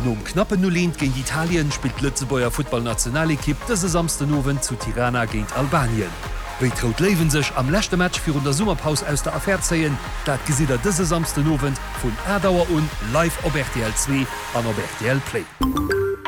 Nom knappen 0, 1 géint Italien spillt d'Lëtzebuerger Futtballnationalekipp dëse Samsden Owend zu Tirana géint Albanien. Wéi d'Rout Léiwen sech am leschte Match virun der Summerpaus aus der Affär zéien, dat gesitt der dëse Samsden Owend vun 8 Auer un live op rtl 2 an op rtl Play.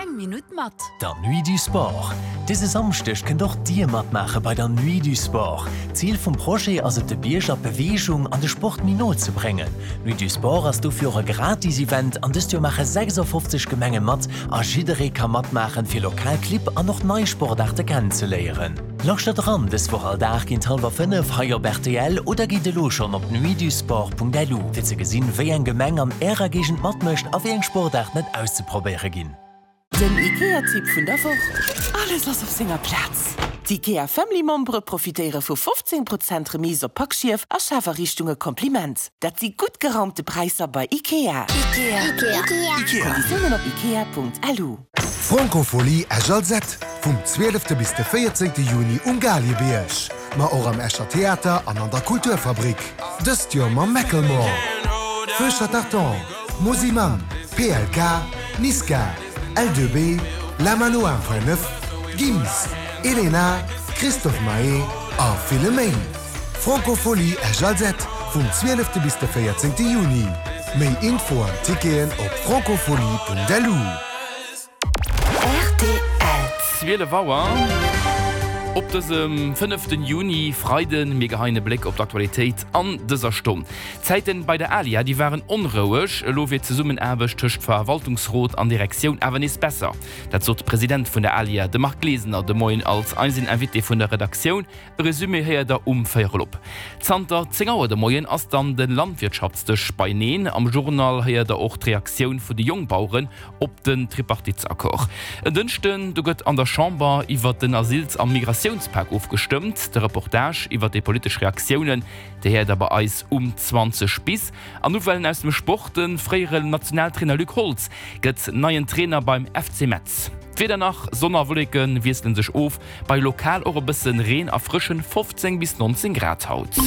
Eng Minutt mat. Der Nuit du Sport. Dëse Samschdeg kënnt och Dir matmaache bei der Nuit du Sport. D'Zil vum Projet ass et de Bierger d'Beweegung an de Sport méi no ze bréngen. D'Nuit du Sport ass dofir och e gratis Event an dëst Joer maache 56 Gemenge mat a jidderee ka matmaachen fir lokal Clibb an och nei Sportaarte kennenzeléieren. Lauschtert eran dës Woch all Dag géint hallwer 5 hei op rtl oder gitt elo schonn op nuitdusport.lu fir ze gesinn wéi eng Gemeng an ärer Géigend matmécht a wéi eng Sportaarten et auszeprobéiere ginn. Den IKEA-Tipp vun der Woch, Alles ass op senger Plaz! D'IKEA Family Membere profitéiere vu 15 Prozent Remise op Packschief a Schafariichtunge Kompliment! Dat si gutt geraumte Präisser bei IKEA! Konditiounen op ikea.lu. D'Francophonie Esch-Alzette, vum 12 bis de 14 Juni um Galiebierg, ma och am Escher Theater an an der Kulturfabrik. Dëst Joer mam Macklemore, Feu Chatterton, Mosimann, PLK, Niska, L2B, La Mano 1.9, Gims, Elena, Christophe Maé a ville méi. Francophonie Esch-Alzette vum 12 bis de 14 Juni. Méi Info an Ticketen op francophonie.lu. Rtl. 12 Auer op dësem fënneften Juni, Freiden. Mir geheien e Bléck op d'Aktualitéit an dëser Stonn. D'Zäiten bei der ALIA, déi waren onroueg. Elo wier d'Zesummenaarbecht tëscht Verwaltungsrot an Direktioun awer nees besser. Dat sot de President vun der ALIA, de Marc Glesener, de Moien als eisen Invité vun der Redaktioun. E Resumé héiert der um Véierel op. Zanter 10 Auer de Moien ass dann de Landwirtschaftsdësch beieneen. Am Journal héiert der och d'Reaktioun vun de Jongbaueren op den Tripartitesaccord. En Dënschden, do gëtt an der Chamber iwwert den Asyls a Migratiounspak ofgestëmmt. De Reportage iwwert déi politesch Reaktiounen, déi héiert der bei eis um 20 bis. An Nouvellen aus dem Sport, De fréieren Nationaltrainer Luc Holtz gëtt neien Trainer beim FC Metz. D'Wieder nach, Sonn a Wolleke wiessele sech of, bei lokal och e bësse Reen a frëschen 15 bis 19 Grad haut.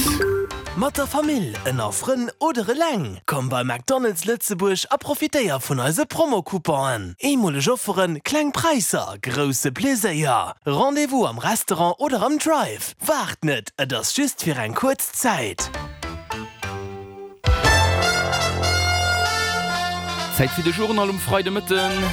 Mat der Famill, ënner Frënn oder eleng, komm bei McDonald's Lëtzebuerg a profitéier vun eise Promo-Couponen. Eemoleg Offeren, kleng Präisser, grousse Pleséier. Rendez-vous am Restaurant oder am Drive. Waart net, et ass just fir eng kuerz Zäit. Zäit fir de Journal um Freidemëtten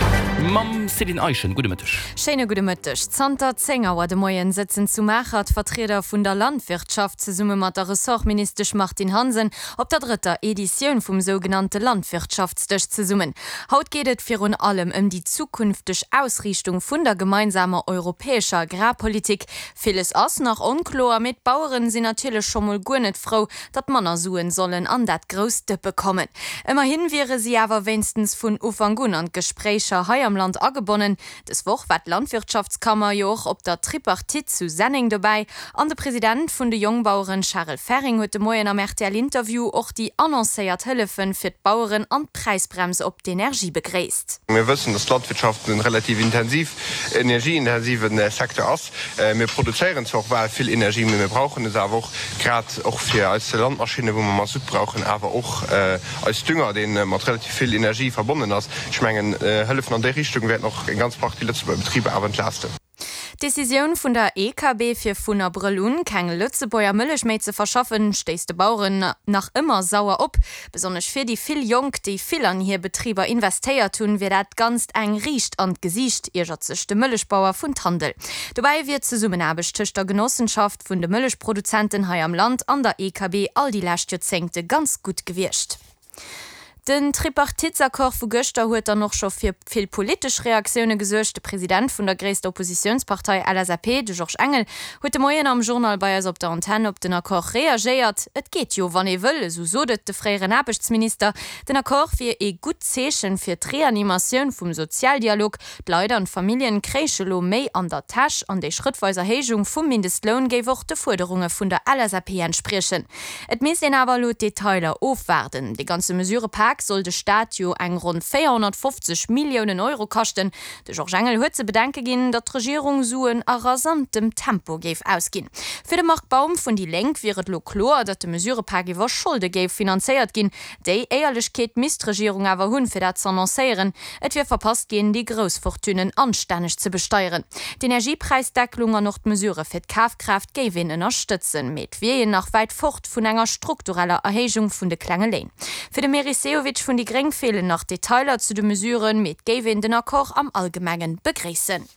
mam Céline Eischen. Gudde Mëtteg. Schéine gudde Mëtteg. Zanter 10 Auer de Moien sëtzen zu Maacher d'Vertrieder vun der Landwirtschaft zesumme mat der Ressortministesch Martine Hansen op der drëtter Editioun vum sougenannte Landwirtschaftsdësch zesummen. Haut geet et virun allem ëm déi zukünfteg Ausriichtung vun der gemeinsamer europäescher Agrarpolitik. Villes ass nach onkloer, mee d'Baueren sinn natierlech scho mol guer net frou, datt manner Suen sollen an dat grousst Dëppe kommen. Ëmmerhin wiere si awer wéinstens vun Ufank un an d'Gespréicher hei am Land agebonnen. Des Woch war d'Landwirtschaftskammer jo och op der Tripartite zu Senneng dobäi an de President vun de Jongbaueren Charel Ferring huet de Moien am RTL-Interview och déi annoncéiert Hëllefen fir d'Baueren an d'Präisbrems op d'Energie begréisst. Mir wëssen, datt d'Landwirtschaft e relativ intensiv, energieintensive Secteur ass. Mir produzéieren zwar och bal vill Energie, mee mir brauchen es awer och, grad och fir eis Landmaschinnen, wou mer Masutt brauchen, awer och eis Dünger, dee mat relativ vill Energie verbonnen ass. Ech mengen, Hëllefen an déi Richtung wäerten och eng ganz Partie Lëtzebuerger Betriber awer entlasten. D'Decisioun vun der EKB, fir vun Abrëll un keng Lëtzebuerger Mëllech méi ze verschaffen, stéisst de Baueren nach ëmmer sauer op. Besonnesch fir déi vill Jonk, déi vill an hir Betriber investéiert hunn, wier dat Ganzt eng riicht an d'Gesiicht, iergert sech de Mëllechbauer vun Tandel. Dobäi wier d'Zesummenaarbecht tëscht der Genossenschaft vun de Mëllechproduzenten hei am Land an der EKB all déi lescht Joerzéngte ganz gutt gewiescht. Den Tripartitesaccord vu gëschter huet dann och scho fir vill politesch Reaktioune gesuergt. De President vun der gréisster Oppositiounspartei LSAP, de Georges Engel, huet de Moien am Journal bei eis op der Antenn op den Accord reagéiert. Et geet jo, wann ee wëll, esou sot et de fréieren Aarbechtsminister. Den Accord wier ee gutt Zeechen fir d'Reanimatioun vum Sozialdialog. D'Leit an d'Familljen kréiche lo méi an der Täsch an déi schrëttweis Erhéijung vum Mindestloun géif och de Fuerderunge vun der LSAP entspriechen. Et misst een awer elo d'Detailer ofwaarden. Dee ganze Mesurëpak. Mesurepak soll de Staat jo eng ronn 450 Milliounen Euro kaschten. De Georges Engel huet ze bedenke ginn, datt d'Regierung Suen a rasantem Tempo géif ausginn. Fir de Marc Baum vun déi Lénk wier et elo kloer, datt de Mesurepak iwwer Scholde géif finanzéiert ginn. Déi Éierlechkeet misst d'Regierung awer hunn, fir dat z'annoncéieren. Et wier verpasst ginn, déi grouss Fortunen anstänneg ze besteieren. D'Energiepräisdecklung an och d'Mesurë fir d'Kafkraaft géif een ënnerstëtzen, mee et wier een nach wäit fort vun enger struktureller Erhéijung vun de klenge Léin. Fir de Meris Sehovic vun déi gréng feelen nach Detailer zu de Mesuren, mee et géif een den Accord am Allgemengen begréissen.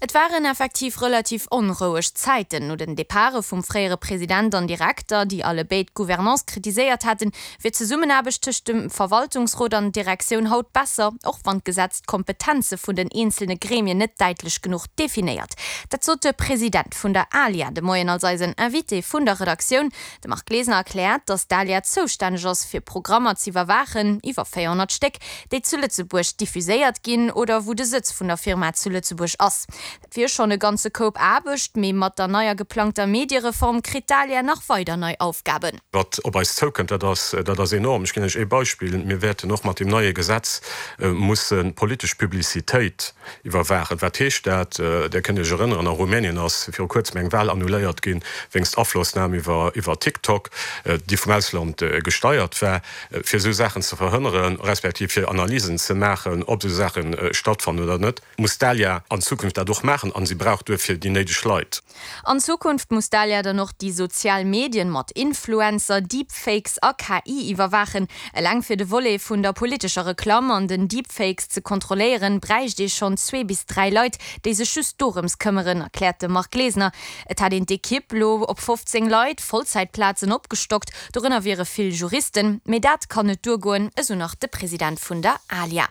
Et waren effektiv relativ onroueg Zäiten. No den Departe vum fréiere President an Direkter, déi alle béid d'Gouvernance kritiséiert haten, wier d'Zesummenaarbecht tëscht dem Verwaltungsrot an Direktioun haut besser, och wann d'Gesetz d'Kompetenze vun den eenzelne Gremien net däitlech genuch definéiert. Dat sot de President vun der ALIA de Moien als eisen Invité vun der Redaktioun. De Marc Glesener erkläert, datt d'ALIA zoustänneg ass, fir Programmer z'iwwerwaachen, iwwer 400 Stéck, déi zu Lëtzebuerg diffuséiert ginn oder wou de Sëtz vun der Firma zu Lëtzebuerg ass. Dat wier schonn e ganze Koup Aarbecht, mee mat der neier geplangter Mediereform kritt d'ALIA nach weider nei Aufgaben. Wat op eis zoukënnt, dat ass, dat ass enorm. Ech ginn lech ee Beispill, Mir wäerten och mat deem neie Gesetz musse politesch Publicitéit iwwerwaachen. Wat heescht dat? Där kënnt Iech erënneren, a Rumänien ass viru kuerzem eng Wahl annuléiert ginn, wéinst Aflossnam iwwer iwwer TikTok, déi vum Ausland gesteiert war. Fir esou Saachen ze verhënneren, respektiv fir Analysen ze maachen, ob esou Saache stattfannen oder net, muss d'ALIA an Zukunft dat och maachen a si brauch duerfir déi néideg Leit. An Zukunft muss d'ALIA dann och déi sozial Medien mat Influencer, Deepfakes a KI iwwerwaachen. Eleng fir de Volet vun der politescher Reklamm an den Deepfakes ze kontrolléieren, bräicht ee schonn zwee bis dräi Leit, déi sech just dorëms këmmeren, erkläert de Marc Glesener. Et hätt een d'Ekipp lo op 15 Leit, Vollzäitplazen, opgestockt. Dorënner wiere vill Juristen. Mee dat kann net duergoen, esou nach de President vun der ALIA.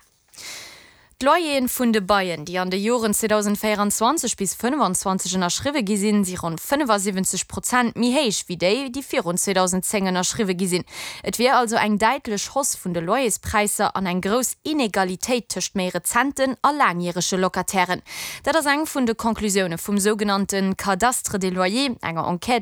D'Loyeren vun de Baien, déi an de Joren 2024 bis 25 ënnerschriwwe gi sinn, si ronn 75 Prozent méi héich wéi déi, déi virun 2010 ënnerschriwwe gi sinn. Et wier also eng däitlech Hausse vun de Loyerspräisser an eng grouss Inegalitéit tëscht méi rezenten a laangjärege Locatairen. Dat ass eng vun de Conclusioune vum sougenannte Cadastre des loyers, enger Enquête.